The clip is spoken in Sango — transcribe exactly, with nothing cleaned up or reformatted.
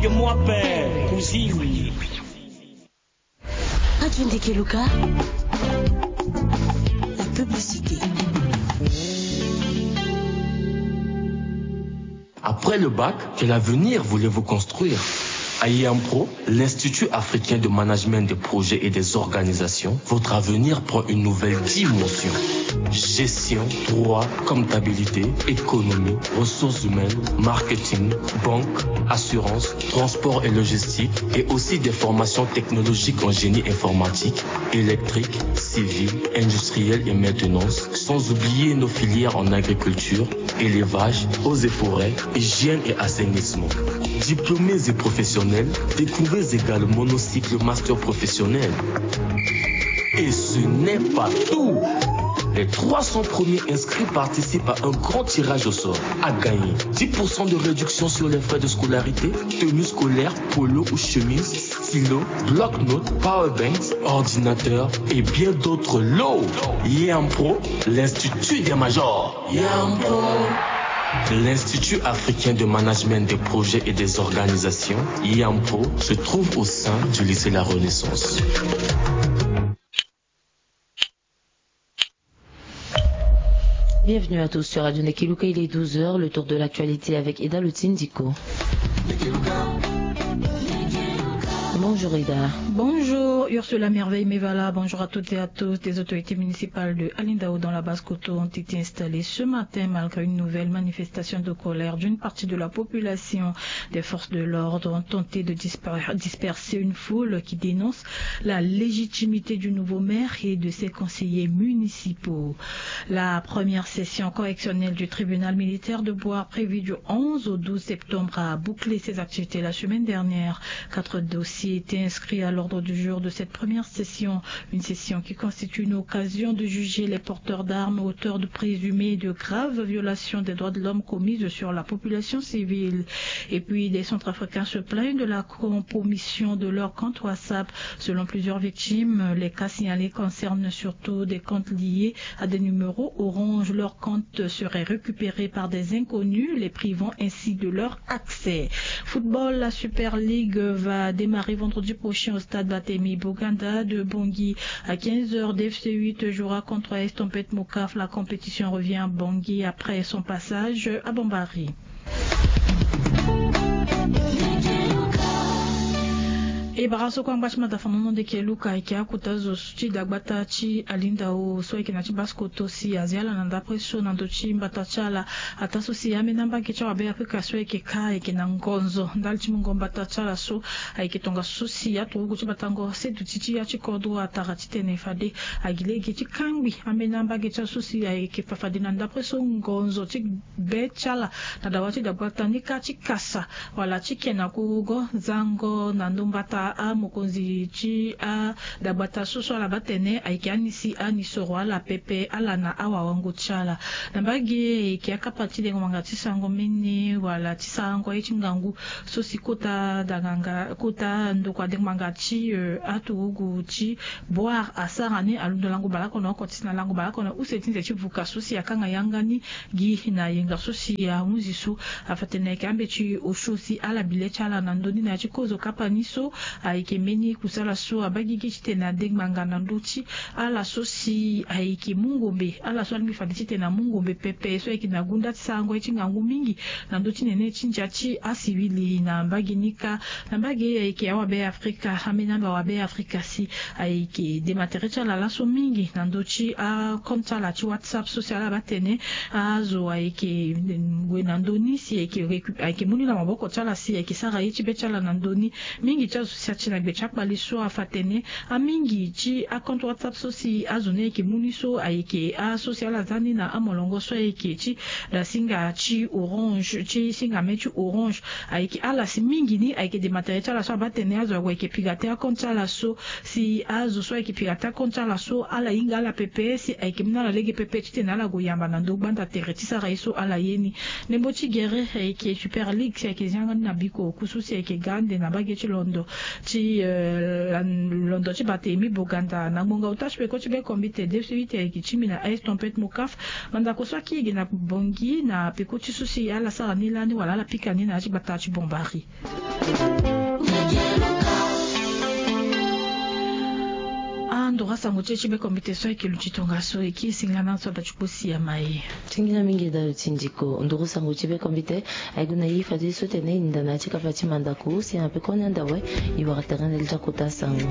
Yo, moi père, cousine. Radio Ndeke Luka, la publicité. Après le bac, quel avenir voulez-vous construire? À IAMPRO, l'Institut africain de management des projets et des organisations, votre avenir prend une nouvelle dimension. Gestion, droit, comptabilité, économie, ressources humaines, marketing, banque, assurance, transport et logistique, et aussi des formations technologiques en génie informatique, électrique, civil, industriel et maintenance, sans oublier nos filières en agriculture, élevage, eaux et forêts, hygiène et assainissement. Diplômés et professionnels, découvrez également nos cycles master professionnels. Et ce n'est pas tout. Les trois cents premiers inscrits participent à un grand tirage au sort. À gagner, dix pour cent de réduction sur les frais de scolarité, tenue scolaire, polo ou chemise, stylo, bloc-notes, powerbanks, ordinateur et bien d'autres lots. IAMPRO, l'Institut des majors. IAMPRO. L'Institut africain de management des projets et des organisations, IAMPRO, se trouve au sein du lycée La Renaissance. Bienvenue à tous sur Radio Ndeke Luka, il est douze heures, le tour de l'actualité avec Eda Lotindiko. Bonjour Eda. Bonjour Ursula Merveille Mevala, bonjour à toutes et à tous. Des autorités municipales de Alindao dans la Basse-Kotto ont été installées ce matin malgré une nouvelle manifestation de colère d'une partie de la population. Des forces de l'ordre ont tenté de disper- disperser une foule qui dénonce la légitimité du nouveau maire et de ses conseillers municipaux. La première session correctionnelle du tribunal militaire de Bouar, prévue du onze au douze septembre, a bouclé ses activités la semaine dernière. Quatre dossiers étaient inscrits à l'ordre du jour de cette première session, une session qui constitue une occasion de juger les porteurs d'armes auteurs de présumées et de graves violations des droits de l'homme commises sur la population civile. Et puis, des Centrafricains se plaignent de la compromission de leur compte WhatsApp. Selon plusieurs victimes, les cas signalés concernent surtout des comptes liés à des numéros Orange. Leurs comptes seraient récupérés par des inconnus, les privant ainsi de leur accès. Football, la Super League va démarrer vendredi prochain au stade Batemi Boganda de Bangui à quinze heures. D F C huit jouera contre Estompette Mokaf. La compétition revient à Bangui après son passage à Bambari. E bara so kue angba ti mata fanono Ndeke Luka, ayeke akota zo so ti dagbata ti Alindao so ayeke na ti Basse-Kotto si azi ala na ndapre so na ndö ti mbata ti ala. Ataa so si ambeni ambage ti awabe Afrika so ayeke kâ ayeke na ngonzo ndali ti mungo mbata ti ala so ayeke tongaso so si aturugu ti batango seduti ti ya ti kodro atara titene fade agi lege ti kangbi ambeni ambage ti ala so si ayeke fa fade na ndapre so ngonzo ti be ti ala na dawa ti dagbata ni kâ ti kasa wala ti ke na kurugo zango na ndo mbata amokonzi ti adagbata so so ala baa tene ayeke ani si ani soro ala pepe ala na awawango ti ala. Na mbage ayeke akapa ti dengo ngbanga ti sango mene wala ti sarango aye ti ngangu so si kota danganga kota ndokua dengo ngbanga ti aturugu ti Boire asara ni alondo lango baleoko na oko ti si na lango baleoko na use ti nze ti vuka so si akanga yanga ni gi na yenga so si ahunzi so. Afa tene ayeke ambeti osio si ala bi le ti ala na ndö ni na ya ti kozo kapa ni so ayeke mbeni kusala so abaa gigi titene ade ngbanga na ndö ti ala so si ayeke mu ngombe ala so alingbi fade titene amu ngombe pepe so ayeke na gunda ti sarango ye ti ngangu mingi na ndö ti nene ti ndia ti asivili na mbage ni kâ. Na mbage ayeke awabe afrika ambeni amba awabe afrika si ayeke dema tere ti ala laso mingi na ndö ti akompte ti ala ti whatsapp so si ala baa tene azo ayeke gue na ndö ni si ayeke recu- ayeke mu ni na maboko ti ala si ayeke sara ye ti be ti ala na ndö ni. Mingi ti azo si ati na gbe ti akpale so afa tene amingi ti akompte whatsapp so si azo ni ayeke mu ni so ayeke aso si ala za ni na amolongo so ayeke ti da singa ti orange ti singa me ti orange. Ayeke ala si mingi ni ayeke dema tere ti ala so abaa tene azo ague ayeke pigate akompte ti ala so si azo so ayeke pigate akompte ti ala so ala hinga ala pepe si ayeke mu na ala lege pepe titene ala gue yamba na ndö gbanda tere ti sara ye so ala ye ni. Ndembo ti gere ayeke super league si ayeke zia nga ni na biko oku so si ayeke ga ande na mbage ti londo. Ti londo ti bata emi boganda na ngbonga ota ti peko ti bekombite de suite ayeke ti mbi na aise tempête mokaf. Mandako so aki ege na bongi na peko ti so si ala sara ni lani wala ala pika ni na ya ti gbata ti bombari. Andora sango ti e ti bekombite so ayeke luti tongaso e kiri singila na so ada ti kpo si ya ma e. Singila mingi da luti ndiko nduru sango ti bekombite. Aye gue na ye fadeso tene e ninda na ya ti kapa ti mandako si ya na peko ni anda awe. E wara tere na li ti akota sango.